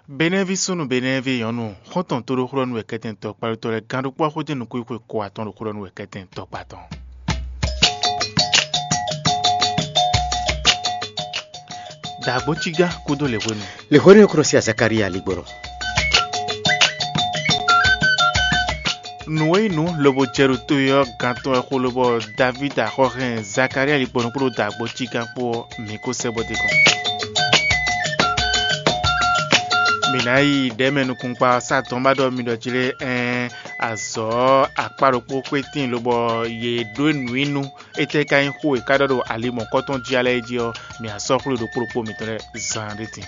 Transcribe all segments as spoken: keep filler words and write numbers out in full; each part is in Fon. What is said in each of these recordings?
Benɛ́ví súnnu Benɛ́ví nyɔ̌nu, xɔ́ntɔn tóɖóxlɔ́nú wɛ kɛ́tɛn tɔkpá ɖó tɔ́ lɛ́ɛ gán ɖokpó axójɛ́nú nukúnxwe ko atɔn ɖo xó ɖɔ nú wɛ kɛ́tɛn tɔkpá tɔn. Dǎgbójígá kúdó lěhwenu. Lěhwenu e kúnɔ sí Zakalía ligbɔnɔ. Nǔ e nyí nǔ lobo jɛ ɖo to e ɔ́ gán tɔn wɛ xó lobɔ Davídi axɔ́hɛn Zakalía ligbɔnɔ kpódó dǎgbójígán kpó ɔ́, mǐ ko sɛ́ bɔ d'é kɔn. Mǐ ná yi ɖɛ̌mɛ nukúnkpa ɔ́ sá dɔn bá ɖɔ mi ɖɔ jí lé ɛɛn azɔ̌ akpá ɖokpó xwé tíin lobɔ yě ɖó nǔ i nú. Étɛ́ ka nyí xó e ka ɖɔ ɖo ali mɔ̌kɔtɔn jí alɛ é jí ɔ́, mǐ á sɔ́ xwlé ɖokpó ɖokpó mitɔn lɛ́ɛ zaan ɖé din.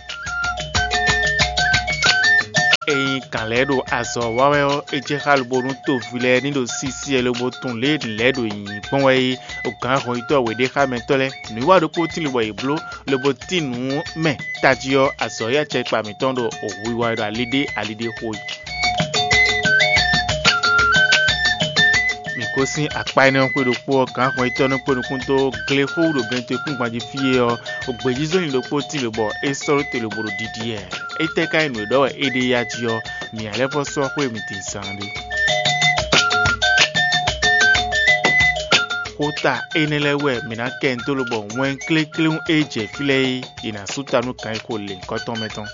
Ényí gǎn lɛ́ɛ ɖo azɔ̌ wa wɛ ɔ́, é jɛ xá lobo nú toví lɛ́ɛ ní ɖo sísí wɛ lobo tunwun lě e nǔ lɛ́ɛ ɖo nyǐnyí gbɔn wɛ é. Gǎn hɔnyitɔ́ wěɖéxámɛtɔ́ lɛ́ɛ, nǔwiwa ɖokpó tín lobo yi bló, lobo tín nǔ mɛ tají ɔ́, azɔ̌ e acɛkpa mǐtɔn ɖo hwiwa e ɖo ali ɖé ali ɖé xo é. Mǐ gosín akpá énɛ́ ɔ́ xwé ɖokpó ɔ́, gǎn hɔnyitɔ́ nɔ kpé nukún dó glexó ɖo gɛntoekúngban jí fí é ɔ́, gbějízɔ́nlin ɖokpó tín lobɔ é sɔ́ ɖó te lobo ɖo ɖiɖi wɛ. Étɛ́ ka nyí nǔ e ɖɔ wɛ é ɖe yá jí ɔ́, mǐ ǎ lɛ́ vɔ́ sɔ́ xwé mitɔn zaan ɖé. Xota énɛ́ lɛ́ɛ wɛ mǐ ná kɛ nyi dó lobɔ wɛn klékléwún e jɛ fí lɛ́ɛ é, è nǎ sú ta nú kan e xo lěhunkɔtɔn mɛ tɔn.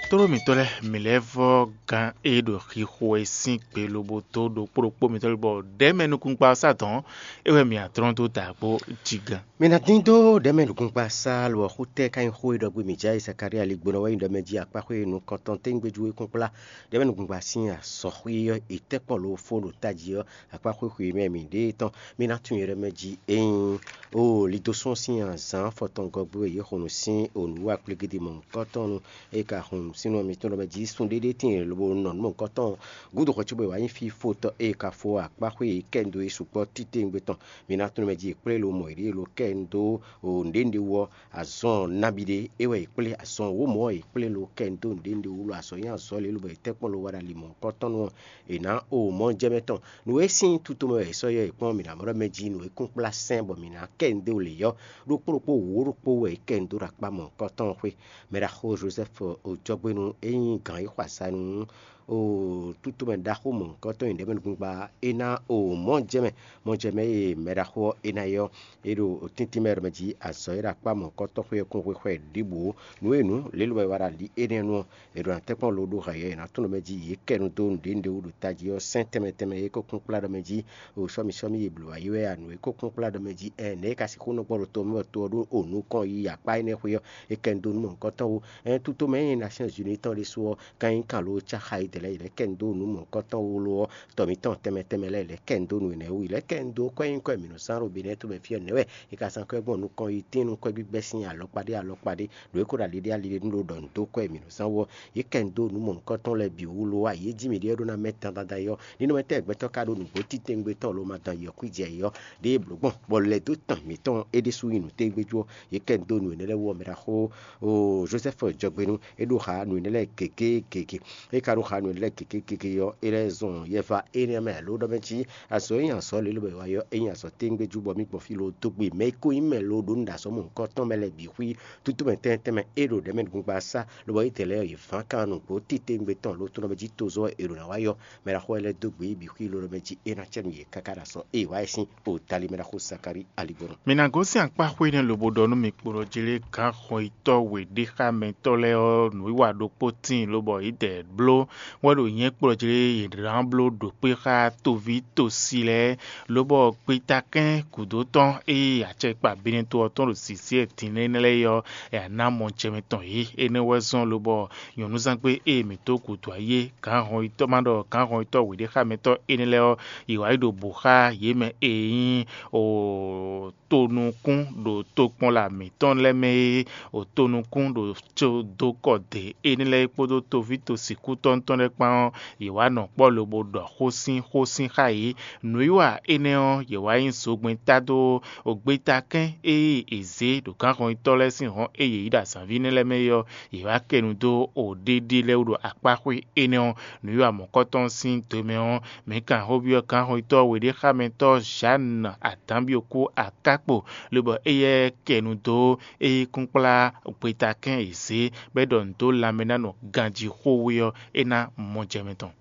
Tlóló mǐtɔn lɛ́ɛ, mǐ lɛ́ vɔ́ gán e ɖo xixo e sín gbe lobo dó ɖokpó ɖokpó mǐtɔn lɛ́ɛ bɔ ɖɛ̌ mɛ nukúnkpa ɔ́ sá dɔ̌n, é wɛ mǐ ná dlɔ́n dó dǎgbó jigán. Mi ná dín dó ɖɛ̌ mɛ nukúnkpa sá lo ɔ́, xú tɛ́ ká nyí xó e ɖɔ gbé mǐ jɛ Zakalía ligbɔnɔ wɛ nyí ɖɔ mɛ jí akpá xwé nukɔntɔn téŋgbéjú e kún kplá ɖɛ̌ mɛ nukúnkpa sín azɔ̌ xwé ɔ́, è tɛ́ kpɔ́n lo fó ɖo tají ɔ́, akpá xwé xwé mɛ mǐ ɖe tɔn. Mi ná tunwun yɛ ɖɔ mɛ jí ényí o lidosɔn sín azǎn fɔtɔn gɔ́gbé e yě xo nǔ sín o nǔwiwa kplégídí mɔ̌hunkɔtɔn nu, ée ka hun sínú mitɔn ɖɔ mɛ jí sun ɖéɖé tíin lobo nɔ nǔ mɔ̌hunkɔtɔn gúdo xɔ cóbɔ è wǎ nyí fí fó tɔ́ ée ka fó akpá xwé e kɛ nyi dó é sukpɔ́ titewungbe tɔn. Mi ná tunwun mɛ jí è kplé lo mɔ yě ɖíe lo kɛ nyi dó nǔɖénúɖé wú ɔ́, azɔn nabí ɖé é wɛ è kplé, azɔn wǒ mɔ̌ è kplé lo kɛ nyi dó nǔɖénúɖé wú lo azɔn nyí azɔ̌ lě lobo è tɛ́ kpɔ́n lo wá ɖo ali mɔ̌hunkɔtɔn nu ɔ́, è nǎ o mɔ̌ jɛ mɛ tɔn. Nǔ e sín tutomɛ wɛ è sɔ́ yɔ è kpɔ́n mǐ ná mɔ ɖɔ mɛ jí nǔ e kún kplá sɛ́n bɔ mǐ ná kɛ nyi dó lě ɔ́, ɖokpó ɖokpó wǒ ɖokpó wɛ è kɛ nyi dó ɖo akpá mɔ̌hunkɔtɔn xwé. Mɛɖaxó Jozɛ́fu Ojɔgbénu e nyí gǎn e xo azǎn nú o tútumɛ ɖaxó mɔ̌hunkɔtɔn e nyí ɖɛ̌mɛnukúngba é ná o mɔ̌ jɛ mɛ, mɔ̌ jɛ mɛ e mɛɖaxó ɔ́ é ná yi ɔ́, é ɖo tíntín mɛ ɖɔ mɛ jí azɔ̌ e ɖo akpá mɔ̌hunkɔtɔn xwé ɔ́ kún xwixwɛ ɖěbǔ ó. Nǔ e nǔ lě lobɔ è wa ɖo ali énɛ́ nu ɔ́, è ɖo ná tɛ́nkpɔ́n lo ɖó hɛ̌yɔ́ è nǎ tunwun ɖɔ mɛ jí yě kɛ nu dó nǔɖé nǔɖé wú ɖo tají ɔ́, sɛ́n tɛnmɛ tɛnmɛ e ko kún kplá ɖɔ mɛ jí o sɔ́mì sɔ́mì e blǒ wá yi wɛ a nǔ e ko kún kplá ɖɔ mɛ jí ɛn nɛ̌ e ka sixú nɔ gbɔ ɖo to mɛ bɔ to ɔ́ ɖó o nukɔn yi akpá énɛ́ xwé ɔ́, è kɛ nu dó nú mɔ̌hunkɔtɔn wú. Ɛn tutomɛ e nyí Nasyɔ́n Zuni tɔn ɖésú ɔ́, kan nyí kan lo cá xa yi dɛ̌ lɛ́ɛ yi lɛ̌ kɛ nu dó nǔ mɔ̌hunkɔtɔn wú lo ɔ́, tɔ mǐtɔn tɛnmɛ tɛnmɛ lɛ́ɛ yi lɛ̌ kɛ nu dó nǔ énɛ́ wú yi lɛ̌ kɛ nu dó kɔ́ nyí kɔ́ e mǐ nɔ zán ɖo Benɛ́ɛ to mɛ fí ɔ́ nɛ̌ wɛ è ka zán kɔ́ gbɔn nukɔn yi tín nú kɔ́ gbígbɛ́ sín alɔkpa ɖé alɔkpa ɖé, ɖo é ko ɖo ali ɖé ali ɖé nú ɖo ɖɔ nǔ dó kɔ́ e mǐ nɔ zán wú ɔ́, yě kɛ nu dó nǔ mɔ̌hunkɔtɔn lɛ́ɛ bǐ wú lo ɔ́, ayǐ e jí mǐ ɖe ɔ́ ɖó ná mɛ dandan ɖayi ɔ́, ní nɔ mɛ tɛ́ gbɛtɔ́ ka ɖó nǔgbó titewungbe tɔn lo ma dán yɔ̌kwíjɛ yě ɔ́, ɖěe blǒ gbɔn, bɔ lɛ̌ dó tɔn mǐtɔn é ɖésú nyí nǔ tégbéjú ɔ́, yě kɛ nu dó nǔ énɛ́ lɛ́ɛ wú ɔ́ mɛ ɖaxó o Jozɛ́fu Jɔgbénu, é ɖó xa nǔ énɛ́ lɛ́ɛ gěgé gěgé. É ka ɖó xa nǔ énɛ́ lɛ́ɛ gěgé gěgé ɔ́, é lɛ́ zɔn yɛ va énɛ́ mɛ lǒ ɖɔ mɛ jí azɔ̌ e nyí azɔ̌ lě lobɔ è wa yɔ é nyí azɔ̌ tégbéjú bɔ mǐ gbɔn fí lo dó gbe mɛ e ko nyí mɛ lo ɖó nǔ ɖo azɔ̌ mɔ̌hunkɔtɔn mɛ lɛ́ɛ bǐ xwí. Tútú mɛ tɛnmɛ tɛnmɛ é ɖo ɖɛ̌ mɛ nukúnkpa sá, lobɔ Izlayɛ́li yě ván kan nǔgbó titewungbe tɔn lo tɔn ɖɔ mɛ jí tozɔ́ è ɖǒ ná wá yɔ mɛ ɖaxó lɛ́ɛ dó gbe yi bǐ xwí lo ɖɔ mɛ jí é ná cɛ nú yě káká ɖo azɔ̌ e è wǎ ɛ sín o tali mɛ ɖaxó Zakalí aligbɔnɔ. Mi ná gosín akpá xwé énɛ́ lobo ɖɔ nú mi kpo ɖɔ jí lé gǎn xɔnyitɔ́ wěɖéxámɛtɔ́ lɛ́ɛ ɔ́, nǔwiwa ɖokpó tíin lobɔ yě dɛ bló wɛ ɖo nyɛ̌ kplɔ́ jí lé yě ná bló ɖo kpé xá toví tosi lɛ́ɛ, lobɔ gbetakɛ́n gǔdo tɔn e acɛkpa binɛto ɔ́ tɔn ɖo sisí e din énɛ́ lɛ́ɛ é ɔ́, è nǎ ná mɔ jɛmɛ tɔn yě. Énɛ́ wɛ zɔ́n lobɔ nyɔ̌nuzángbe e mǐ dó gǔdo ayé gǎn hɔnyitɔ́ ma ɖɔ gǎn hɔnyitɔ́ wěɖéxámɛtɔ́ énɛ́ lɛ́ɛ ɔ́, yě wá yi ɖo bǔ xá yě mɛ e nyí o tonukún ɖo tokpɔnla mǐtɔn lɛ́ɛ mɛ e o tonukún ɖo có dó kɔ dě énɛ́ lɛ́ɛ kpódó toví tosikútɔ́ tɔn lɛ́ɛ kpán ɔ́, yě wá nɔ kpɔ́ lobo ɖɔ xó sín xó sín xá yě. Nǔwiwa énɛ́ ɔ́, yě wá nyí zogbɛ́n tá dó gbeta kɛ́n e è zě ɖo gǎnhɔnyitɔ́ lɛ́ɛ sín hɔn e yě yí ɖo azǎnví énɛ́ lɛ́ɛ mɛ é ɔ́, yě wá kɛ nu dó ɖéɖé lɛ́ɛ wú ɖo akpáxwé énɛ́ ɔ́. Nǔwiwa mɔ̌kɔtɔn sín do mɛ ɔ́, mǐ kan xó byɔ́ gǎnhɔnyitɔ́ weɖéxámɛtɔ́ Zǎnu Adǎnbyɔ́kú aká kpo, lobɔ éyɛ́ kɛ nu dó é kúnkplá gbeta kɛ́n e zě bɔ é ɖɔ nǔ dó lanmɛ ná nɔ ganjí xó wú ɔ́, é ná mɔ jɛ mɛ tɔn.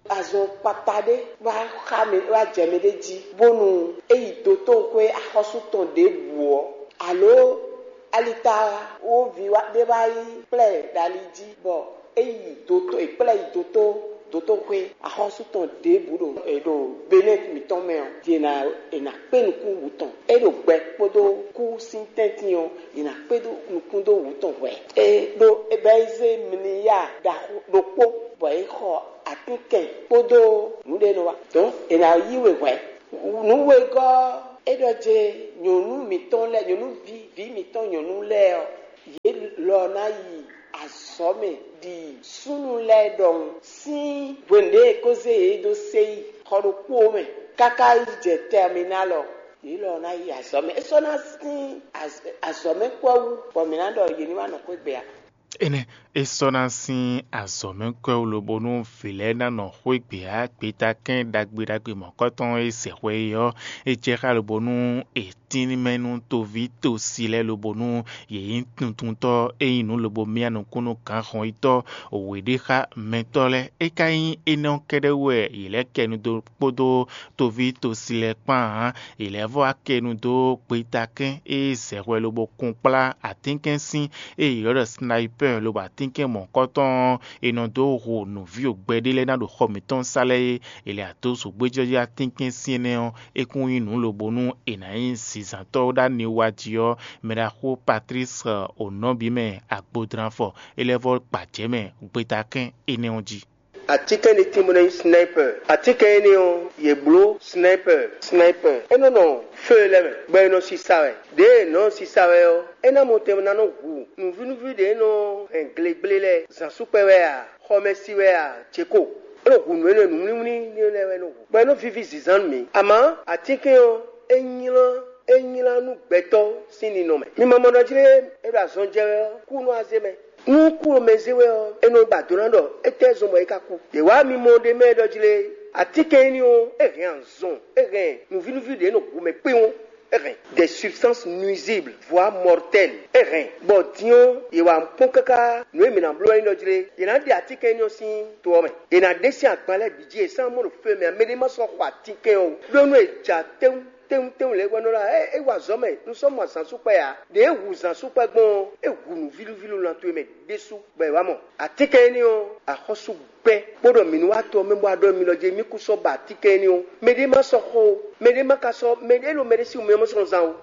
Azɔn kpata ɖé wá xa mɛ wá jɛ mɛ ɖé jí, bónú é yi dotóxwé axɔ́sú tɔn ɖěbǔ ɔ́, alo alita wo ví ɖé wá yi kplá ɛ ɖo ali jí, bɔ é yi doto é kplá yi doto dotóxwé axɔ́sú tɔn ɖěbǔ ɖo è ɖo Benɛt mǐtɔn mɛ ɔ́, è nǎ è nǎ kpé nukún wǔ tɔn. É ɖo gbɛ kpódó kú sín tɛ́ntin ɔ́, è nǎ kpé nukún dó wǔ tɔn hwɛ̌. É ɖó Ebɛ́zé mliya ɖaxó ɖokpó, bɔ é xɔ atínkɛn kpódó nǔɖénúwa. Dɔ̌n è nǎ yí we hwɛ̌. Nǔwegɔ́ é ɖɔ jɛ nyɔ̌nu mǐtɔn lɛ́ɛ, nyɔ̌nuví vǐ mǐtɔn nyɔ̌nu lɛ́ɛ ɔ́, yě lɔ ná yi azɔ̌ mɛ ɖi súnnu lɛ́ɛ ɖɔhun sín hwenu ɖě è ko zé yě dó séyí xɔ ɖokpó mɛ káká yi jɛ tɛminál ɔ́, yě lɔ ná yi azɔ̌ mɛ. É sɔ́ ná sín azɔ̌ mɛ kpɔ́ wú, bɔ mǐ ná ɖɔ yě ní wá nɔ xwé gbe ǎ. Énɛ́ é sɔ́ ná sín azɔ̌ mɛ kɔ́ wú lobo nú vǐ lɛ́ɛ ná nɔ xwé gbě ǎ. Gbeta kɛ́n ɖagbe ɖagbe mɔ̌kɔtɔn e sɛ xwɛ é ɔ́, é jɛ xá lobo nú è tín mɛ nú toví tosi lɛ́ɛ lobo nú yě nyí tuntuntɔ́ e nyí nǔ lobo myá nukún nú gǎnhɔnyitɔ́ wěɖéxámɛtɔ́ lɛ́ɛ. É ka nyí énɛ́ ɔ́ kɛ́ɖɛ́ wú wɛ yě lɛ́ kɛ nu dó kpódó toví tosi lɛ́ɛ kpán ǎ. Yě lɛ́ vɔ́ wá kɛ nu dó gbeta kɛ́n e sɛ xwɛ lobo kún kplá atínkɛ́nsín e yě ylɔ́ ɖɔ snayipɛ́ɛ lobo atínkɛ́n mɔ̌kɔtɔn ɔ́, è nɔ dó hu nǔví wǒgbɛ́ ɖé lɛ́ɛ ná ɖo xɔ mǐtɔn sá lɛ́ɛ é. È lɛ adó zǒgbéjɔ́jí atínkɛ́nsín énɛ́ ɔ́, é kún nyí nǔ lobo nú è nǎ nyí zinzǎntɔ́ ɖó aniwa jí ɔ́, mɛɖaxó Patlísi Onɔ́bimɛ Agbodranfɔ é lɛ́ vɔ́ gbajɛ̌ mɛ gbeta kɛ́n énɛ́ ɔ́ jí. Atínkɛn ɖé tín bó ná nyí sniper. Atínkɛn énɛ́ ɔ́, yě bló sniper, sniper. É nɔ nɔ feu lɛ́ɛ mɛ, bɔ è nɔ sisa wɛ. Ɖěe è nɔ sisa wɛ ɔ́, é ná mɔ tɛn ná nɔ hu nǔvínúví ɖě nɔ hɛn glegblé lɛ́ɛ, zǎnsúkpɛ wɛ a, xɔmɛsi wɛ a, jěko. É nɔ hu nǔ énɛ́ nǔmlímlí lɛ́ɛ wɛ nɔ hu, bɔ é nɔ víví zǐnzán nú mǐ. Amǎ, atínkɛn ɔ́, é nylá é nylá nú gbɛtɔ́ sín ninɔ mɛ. Mi ma mɔ ɖɔ jí lé é ɖo azɔn jɛ wɛ ɔ́, kú nú azé mɛ. Nú kú ɔ́ mɛ zé wɛ ɔ́, é nɔ ba do ná ɖɔ étɛ́ zɔn bɔ é ka kú. Yě wá mi mɔ ɖ'é mɛ ɖɔ jí lé, atínkɛn énɛ́ ɔ́, é hɛn azɔn, é hɛn nǔvínúví ɖě nɔ hu mɛ kpéwɔ́n, é hɛn des substances nuisibles voire mortelles, é hɛn. Bɔ din ɔ́, yě wá kpɔ́n káká nǔ e mǐ ná bló wɛ nyí ɖɔ jí lé, yě ná ɖe atínkɛn énɛ́ ɔ́ sín to ɔ́ mɛ. Yě ná ɖe sín agban lɛ́ɛ bǐ jí, è sán mɔ ɖo fɛ́ mɛ ǎ, mɛ ɖé ma sɔ́ xɔ atínkɛn ɔ́ ó, ɖó nú è ja tɛ́nwú tɛ́nwútɛ́nwú lɛ́ɛ wɛ nɔ ɖɔ ɛ é wa azɔ̌ mɛ, un sɔ́ mɔ azǎnsúkpɛ ǎ. Ɖě e hu zǎnsúkpɛ gbɔn ɔ́, é hu nǔvílúvílú lan towe mɛ ɖésú, bɔ è wá mɔ. Atínkɛn énɛ́ ɔ́, axɔ́sú gbɛ́, bó ɖɔ mǐ ní wá to ɔ́ mɛ bó wá ɖɔ mì lɔ jí mì kú sɔ́ ba atínkɛn énɛ́ ɔ́. Mɛɖé má sɔ́ xɔ ó, mɛɖé má ka sɔ́ mɛɖé ɖo mɛɖé sín wǔmɛ mɔ sɔ́ zán ó.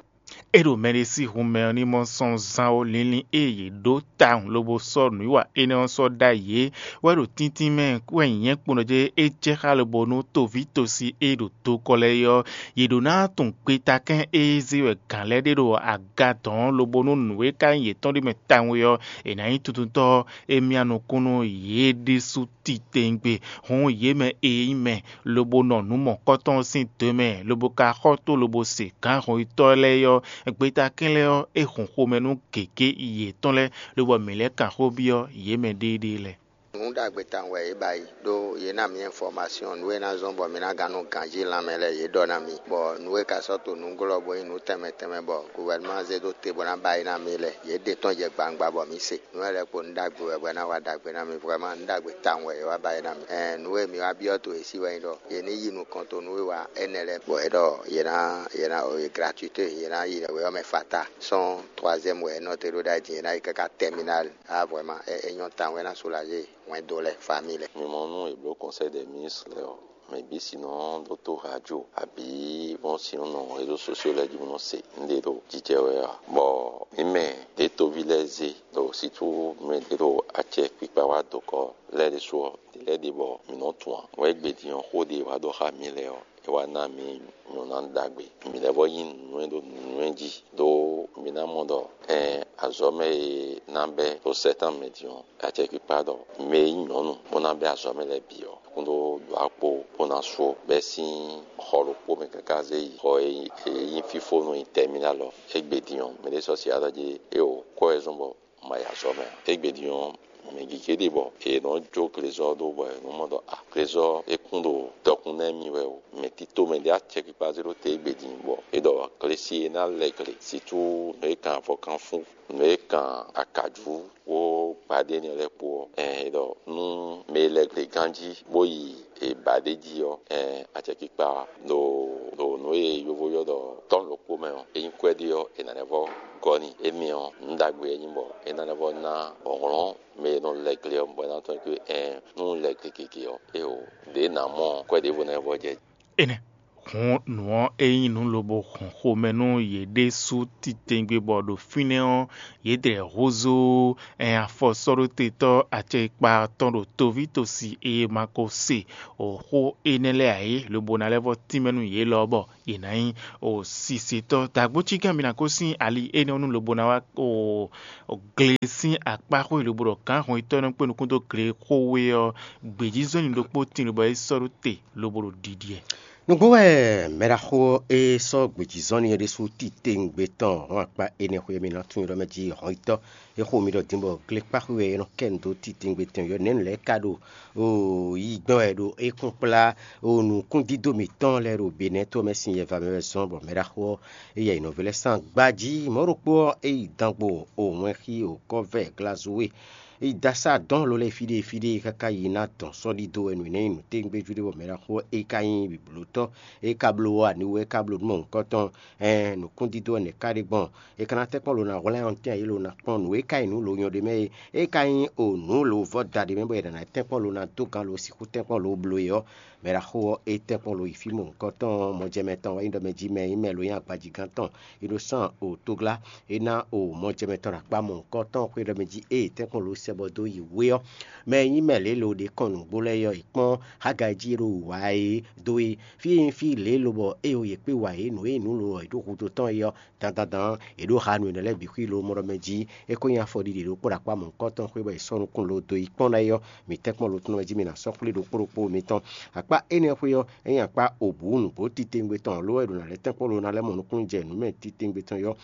É ɖo mɛɖé sín hun mɛ ɔ́ ní mɔ sɔ́ zán ó. Linlin e yě ɖó tawun lobo sɔ́ nǔwiwa énɛ́ ɔ́ sɔ́ ɖ'ayǐ é wɛ ɖo tíntín mɛ wɛ nyǐnyɛ́ kpo nɔ jɛ é jɛ xá lobo nú toví tosi e ɖo dokɔ lɛ́ɛ é ɔ́, yě ɖó ná tunwun gbetakɛ́n e zé wɛ gǎn lɛ́ɛ ɖe ɖo aga dɔ̌n lobo nú nǔ e ka nyí yětɔn ɖ'é mɛ tawun é ɔ́, è nǎ nyí tuntun tɔ́ e myá nukún nú yě ɖésú titewungbe. Hǔn yě mɛ e nyí mɛ lobo nɔ nǔ mɔ̌kɔtɔn sín do mɛ lobo ka xɔ tó lobo se gǎn hɔnyitɔ́ lɛ́ɛ ɔ́, gbetakɛ́n lɛ́ɛ ɔ́, é hun xomɛ nú gěgé yětɔn lɛ́ɛ, lobɔ mǐ lɛ́ kan xó byɔ́ yě mɛ ɖéeɖée lɛ́ɛ. Nǔ ɖagbe tawun wɛ yě ba yi, ɖó yě ná mì information nǔ e ná zɔ́n bɔ mǐ ná gán nɔ ganjí lanmɛ lɛ́ɛ yě ɖɔ ná mì, bɔ nǔ e ka sɔ́ to nǔglɔ́ bó nyí nǔ tɛnmɛ tɛnmɛ bɔ guvɛrɛnman zé dó te bó ná ba yi ná mì lɛ́ɛ, yě ɖe tɔn jɛ gbangba bɔ mǐ se. Nǔ e lɛ́ kpo nǔ ɖagbe wɛ bɔ é ná wa ɖagbe ná mì, vraiment nǔ ɖagbe tawun wɛ yě wá ba yi ná mì. Ɛn nǔ e mǐ wá byɔ́ to yě sí wɛ nyí ɖɔ yě ní yi nukɔn to nǔwiwa énɛ́ lɛ́ɛ, bɔ é ɖɔ yě ná yě ná e gratuité yě ná yi wě ɔ́ mɛ fata sɔ́n troisième wɛ é nɔ te ɖó ɖ'ayǐ din, yě ná yi káká terminal. Ah vraiment, é é nyɔ́ tawun, é ná soulager hwɛndo lɛ́ɛ, famille lɛ́ɛ. Mi mɔ nú è blǒ conseil des ministres lɛ́ɛ ɔ́, mɛ bǐ si nɔ ɖótó radio abǐ bɔn si nɔ nɔ réseaux sociaux lɛ́ɛ jí bó nɔ se nǔɖé ɖo jijɛ wɛ ǎ. Bɔ mǐ mɛ ɖě toví lɛ́ɛ zé ɖo situ mɛ ɖě ɖo acɛ kpikpa wá dokɔ lɛ́ɛ ɖésú ɔ́, ɖě lɛ́ɛ ɖe bɔ mǐ nɔ tunwun ǎ. Wɛ gbe din ɔ́, xó ɖé e wá ɖɔ xá mǐ lɛ́ɛ ɔ́, é wá ná mǐ nyɔ̌ná ɖagbe. Mǐ lɛ́ vɔ́ nyí nǔnywɛ́ ɖó nǔnywɛ́ jí, ɖó mǐ ná mɔ ɖɔ ɛn azɔ̌ mɛ e ná bɛ́ ɖo sɛ́tán mɛ din ɔ́, acɛkpikpa ɖɔ mɛ e nyí nyɔ̌nu bó ná bɛ́ azɔ̌ mɛ lɛ́ɛ bǐ ɔ́, kún ɖó ɖo akpo bó ná sú bɛ́ sín xɔ ɖokpó mɛ káká zé yi xɔ e nyí fífónú e nyí tɛmílá lɔ. Égbé din ɔ́, mɛ ɖé sɔ́ si alɔ jí éeǒ kɔ wɛ zɔ́n bɔ un ma yi azɔ̌ mɛ ǎ. Égbé din ɔ́, Mɛ gěgé ɖe bɔ è nɔ jó glezɔ́ ɖó bɔ è nɔ mɔ ɖɔ a glezɔ́ é kún ɖo dɔkun nɛ́ mì wɛ o. Mɛ tito mɛ ɖé acɛkpikpa zé ɖó te égbé din bɔ é ɖɔ glesi e ná lɛ gle sitú nǔ e kan avɔkanfún, nǔ e kan akajǔ kpó gbadé énɛ́ lɛ́ɛ kpó ɔ́, ɛn é ɖɔ nú mɛ e lɛ gle ganjí bó yi è ba ɖ'é jí ɔ́, ɛn acɛkpikpa ɖo ɖo nǔ e yovo ylɔ́ ɖɔ tɔ́n ɖokpó mɛ ɔ́, é nyí kwɛ́ ɖé ɔ́, è nǎ lɛ́ vɔ́ gɔ́ n'i. Énɛ́ ɔ́, nǔ ɖagbe wɛ é nyí bɔ é ná lɛ́ vɔ́ ná hlɔ̌n mɛ e nɔ lɛ gle ɔ́, bɔ é ná tunwun ɖɔ ɛn nú un lɛ gle gěgé ɔ́, éeǒ, ɖěe nǎ mɔ ɔ́, kwɛ́ ɖěvo ná lɛ́ vɔ́ jɛ jí. Énɛ́ hǔn nǔ ɔ́, é nyí nǔ lobo hɔn xomɛ nú yě ɖésú titewungbe bɔ ɖo fínɛ́ ɔ́, yě dlɛ̌ húzú ɛn afɔsɔ́ɖótetɔ́ acɛkpa tɔn ɖo toví tosi e ma ko se o xó énɛ́ lɛ́ɛ ǎ é, lobo ná lɛ́ vɔ́ tínmɛ nú yě lɔ bɔ yě ná nyí o sisetɔ́. Dǎgbócígán mi ná ko sín ali énɛ́ ɔ́ nú lobo ná wá o gle sín akpá xwé lobo ɖɔ gǎn hɔnyitɔ́ e nɔ kpé nukún dó gle xó we ɔ́, gbějízɔ́nni ɖokpó tíin lobo é sɔ́ ɖó te lobo ɖo ɖiɖi ɛ. Nǔgbó wɛ mɛɖaxó ɔ́ e sɔ́ gbějízɔ́nni é ɖésú titewungbe tɔn hɔn akpá énɛ́ xwé e mi ná tunwun ɖɔ mɛ jí hɔnyitɔ́ é xo mi ɖɔ din bɔ glekpáxwé wɛ é nɔ kɛ nǔ dó titewungbe tɔn yɔ nɛ̌ nǔ lɛ́ɛ ka ɖo o yi gbɛ́ wɛ ɖo é kún kplá o nǔkúndídó mǐtɔn lɛ́ɛ ɖo Benɛ́ to ɔ́ mɛ sín yɛva mɛ wɛ zɔ́n bɔ mɛɖaxó ɔ́ é yɛ yi nɔví lɛ́ɛ sín agba jí. Mɔ̌ ɖokpó ɔ́, é yi dangbó o wɛn xí o kɔ́vɛ́ glazúwe yi da sá dɔn lo lɛ́ɛ fí ɖé fí ɖé káká yi ná dɔn sɔ́ ɖidó wɛ nǔ énɛ́ nyí nǔtɛ́ngbéjú ɖé bɔ mɛɖaxó ɔ́ é ka nyí blǒtɔ́, é ka bló aniwú, é ka bló nǔ mɔ̌hunkɔtɔn. Ɛn nǔkúndídó ɔ́ nɛ̌ ka ɖe gbɔn? È ka ná tɛ́nkpɔ́n lo ná hwlɛ́n ɔ́ tɛ́n ǎ, yě lo ná kpɔ́n nǔ e ka nyí nǔ lo nyɔ ɖé mɛ é, é ka nyí o nǔ lo vɔ́ da ɖé mɛ bɔ è nǎ tɛ́nkpɔ́n lo ná dó gán lo sixú tɛ́nkpɔ́n lo bló é ɔ́, mɛɖaxó ɔ́ é tɛ́nkpɔ́n lo yi fí mɔ̌hunkɔtɔn ɔ́, mɔjɛmɛ tɔn wɛ nyí ɖɔ mɛ jí mɛ nyí mɛ lo nyí agbajígán tɔn. È ɖo sán o tóglá é ná o mɔjɛmɛ tɔn ɖo akpá mɔ̌hunkɔtɔn xwé ɖɔ mɛ jí ée tɛ́nkpɔ́n lo sɛ bɔ dó yi wé ɔ́, mɛ e nyí mɛ lě lo ɖě kɔn nǔgbó lɛ́ɛ é ɔ́, è kpɔ́n Hagai jí e ɖo wǔ wá é dó é. Fí e nyí fí lě lobɔ é o yě kpé wǎ é nǔ e nǔ lo ɔ́ è ɖó hudó tɔn é ɔ́, dandandan è ɖǒ ha nǔ énɛ́ lɛ́ɛ bǐ xwí lo mɔ ɖɔ mɛ jí é ko nyí afɔɖiɖi ɖokpó ɖo akpá mɔ̌hunkɔtɔn xwé bɔ è sɔ́ nukún lo dó yi kpɔ́n ná é ɔ́, mǐ tɛ́nkpɔ́n lo tɔn mɛ jí mi ná sɔ́ xwlé ɖokpó ɖokpó mitɔn. Akpá énɛ́ xwé ɔ́, é nyí akpá obǔ nǔgbó titewungbe tɔn ló wɛ è ɖǒ ná lɛ́ tɛ́nkpɔ́n lo ná lɛ́ mɔ nukúnnú jɛ nǔ mɛ titewungbe tɔn é ɔ́,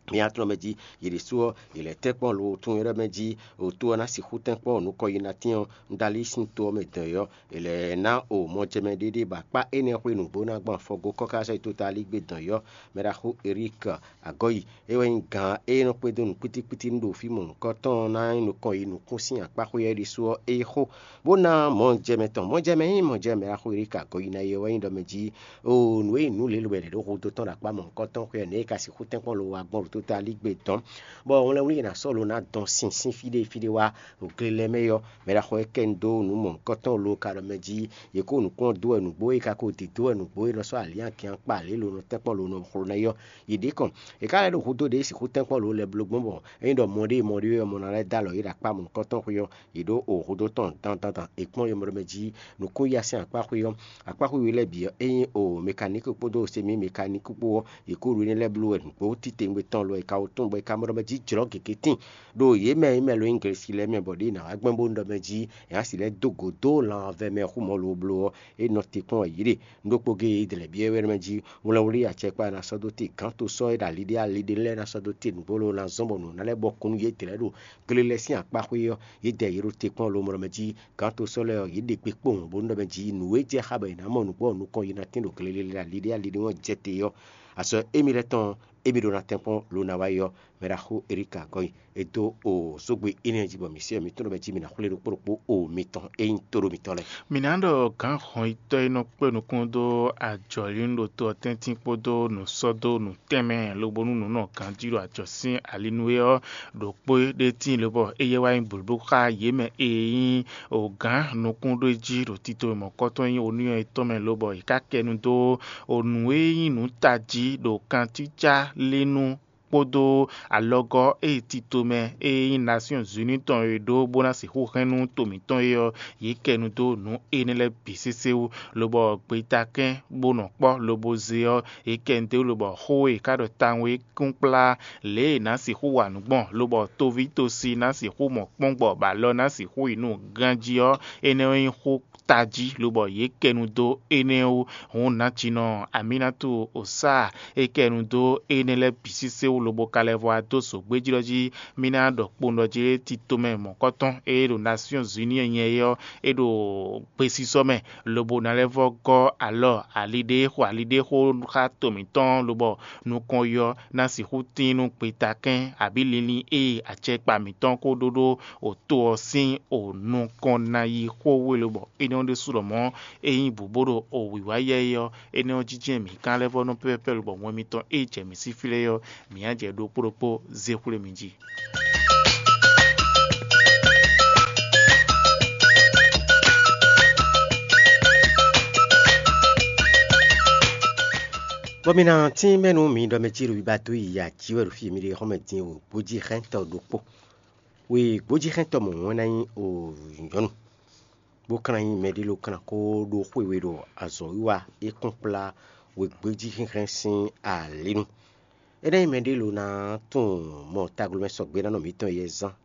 mǐ atɔ́ mɛ jí yě ɖésú ɔ́, yě lɛ́ tɛ́nkpɔ́n lo tunwun é ɖɔ mɛ jí, òtó ɔ́ ná sixú tɛ́nkpɔ́n nukɔn yi ná tín ɔ́, un ɖo ali sín to ɔ́ mɛ dɔn ɔ́, è lɛ̌ ná o mɔjɛmɛ ɖéɖé bɔ akpá énɛ́ xwé nǔgbó ná gbɔn afɔgó kɔ́ká sɔ́ yi tota lígbé dɔn ɔ́, mɛ ɖaxó Erík Agɔ́yi, é wɛ nyí gǎn e nɔ kpédó nǔkpítíkpítí nú ɖo fí mɔ̌hunkɔtɔn ɔ́ ná nyí nukɔn yi nukún sín akpá xwé ɔ́ ɖésú ɔ́, é yi xó, bó ná mɔjɛmɛ tɔn. Mɔjɛmɛ nyí mɔjɛmɛ ɖaxó Erík Agɔ́yi ná yi ɔ́ wɛ nyí ɖɔ mɛ jí, o nǔ e nyí nǔ lě lobɛ ɖě ɖo hudó tɔn ɖo akpá mɔ̌hunkɔtɔn xwé ɔ́, nɛ̌ è ka sixú tɛ́nkpɔ́n lo wá gbɔn ɖo tota lígbé dɔn, bɔ hwlɛ́nwlí e è nǎ sɔ́ lo ná dɔn sín sín fí ɖé fí ɖé wá ɖo gle lɛ́ɛ mɛ ɔ́, mɛ ɖaxó e kɛ nyi dó nǔ mɔ̌hunkɔtɔn lo ka ɖɔ mɛ jí, yě kó nǔkplɔ́n dó wɛ nǔgbó, yě ka ko dǐ dó wɛ nǔgbó e nɔ sɔ́ alǐnnyagɛ́n akpa lě lo nɔ tɛ́nkpɔ́n lo nɔ xlo ná é ɔ́, yě ɖě kɔn. Yě ka lɛ́ ɖo hudó ɖě sixú tɛ́nkpɔ́n lo lɛ́ɛ bló gbɔn bɔ ényí ɖɔ mɔ ɖé mɔ ɖé wɛ mɔ ná lɛ́ dó alɔ yě ɖo akpá mɔ̌hunkɔtɔn xwé ɔ́, yě ɖo o hudó tɔn dandan dan è kpɔ́n yɔmɔɖɔmɛ jí nǔkún yí asɛ́n akpá xwé ɔ́, akpá xwé we lɛ́ɛ bǐ ɔ́, ényí o mekaníki kpódó semi mekaníki kpó ɔ́, yě kó ɖo énɛ́ lɛ́ɛ bló wɛ nǔgbó titewungbe tɔn lo è ka wo tún bɔ è ka mɔ ɖɔ mɛ jí jlɔ̌ gěgé tíin ɖo yě mɛ e mɛ lo nyí Glesi lɛ́ɛ mɛ bɔ ɖěe nǎ wá gbɛn bó nɔ ɖɔ mɛ jí è nǎ si lɛ́ dó gǒ dó lanvɛ mɛ xú mɔ̌ lo bló ɔ́, é nɔ te kpɔ́n wɛ yě ɖe. Un ɖokpó géé Idlɛ̌ byɔ́ é wɛ mɛ jí hwlɛnwlí acɛkpá e ná sɔ́ dó te gǎn to sɔ́ é ɖo ali ɖé ali ɖé lɛ́ɛ ná sɔ́ dó te nǔgbó lo ná zɔ́n bɔ nǔ ná lɛ́ bɔ kún nú yědɛɛ lɛ́ɛ ɖo gle lɛ́ɛ sín akpá xwé ɔ́, yědɛɛ yě ɖo te kpɔ́n lo mɔ ɖɔ mɛ jí gǎn to sɔ́ lɛ́ɛ ɔ́, yě ɖe gbe kpowun bó nɔ ɖɔ mɛ jí nǔ e jɛ xá bɔ è nǎ mɔ nǔgbó ɔ́ nukɔn yi ná tín ɖo gle lɛ́ɛ ali ɖé ali ɖé ɔ́ jɛ te ɔ́, azɔ̌ émí lɛ́ɛ tɔn émí ɖó ná tɛ́nkpɔ́n lo ná wá yi ɔ́, mɛ ɖaxó Eríka Gɔ́yi. E dó o sógbe énɛ́ jí bɔ mǐ se ɔ́, mǐ tunwun ɖɔ mɛ jí mǐ ná xwlé ɖokpó ɖokpó o mitɔn e nyí tóɖó mitɔn lɛ́ɛ. Mǐ ná ɖɔ gǎn hɔnyitɔ́ e nɔ kpé nukún dó ajɔ̌línúɖótó ɔ́ tɛ́ntin kpódó nǔsɔ́dó nǔ tɛnmɛ lobo nú nǔ nɔ ganjí ɖo ajɔ̌ sín ali nú é ɔ́, ɖo kpó ɖé tíin lobɔ éyɛ́ wá nyí blǒbló xá yě mɛ e nyí gǎn nukúnɖó jí ɖo tito e mɔ̌kɔ́tɔn nyí onúnyɔ yětɔn mɛ lobɔ è ká kɛ nu dó nǔ e nyí nǔ tají ɖo kantícá lé nú kpódó alɔgɔ́ e tito mɛ e nyí Nasyɔ́n Zuni tɔn e ɖó bó ná sixú hɛn nú to mǐtɔn é ɔ́, yě kɛ nu dó nǔ énɛ́ lɛ́ɛ bǐ sésé wú, lobɔ gbetakɛ́n bó nɔ kpɔ́ lobo ze ɔ́, yě kɛ nu dó wú, lobɔ xó e è ká ɖɔ tawun é kún kplá lě e è nǎ sixú wa nǔ gbɔn, lobɔ toví tosi ná sixú mɔ kpɔ́n gbɔ, bɔ alɔ ná sixú yi nú ganjí ɔ́, énɛ́ ɔ́ nyí xó tají, lobɔ yě kɛ nu dó énɛ́ wú. Hǔn nǎjinɔ Amínátú Osáa é kɛ nu dó énɛ́ lɛ́ɛ bǐ sésé wú, lobo ka lɛ́ vɔ wá dó zǒgbéjí ɔ́ jí. Mí ná ɖɔ kpowun ɖɔ jí tito mɛ mɔ̌kɔtɔn e ɖo Nasyɔ́n Zuni nyɛ é ɔ́, é ɖo gbesisɔ mɛ, lobo ná lɛ́ vɔ gɔ́ alɔ ali ɖé xo ali ɖé xo xá to mǐtɔn, lobɔ nukɔn yɔ ná sixú tín nú gbetakɛ́n abǐ linlin e acɛkpa mǐtɔn ko ɖó ɖó o to ɔ́ sín o nukɔn ná yi xó hwenu, bɔ énɛ́ ɔ́ ɖésú lɔmɔ̌ é nyí bǔ bó ɖo o wǐwá yɛ é ɔ́, énɛ́ ɔ́ jínjɛ́n mǐ gán lɛ́ vɔ́ nɔ́ pɛ́pɛ́pɛ́, lobɔ wɛn mitɔn e jɛ mǐ sín fí lɛ́ɛ ɔ́, mǐ á jɛ ɖokpó ɖokpó zé xwlé mi jí. Bɔ mi ná tín mɛ nú mi ɖɔ mɛ cí ɖo biba dó yi ya jí wɛ ɖo fí e mi ɖe xɔ́mɛ din o gbójíxɛ́ntɔ́ ɖokpó. Wěgbójíxɛ́ntɔ́ mɔ̌ wɛn ná nyí o nyɔ̌nu, bó ka ná nyí mɛɖé ló ka ná kó ɖó xwe we ɖo azɔ̌wiwa e kún kplá wěgbójíxɛ́nxɛ́n sín alǐ nu. É ná nyí mɛɖé ló ná tunwun mɔ taglomɛ sɔgbe ná nɔ mǐtɔn yɛ zán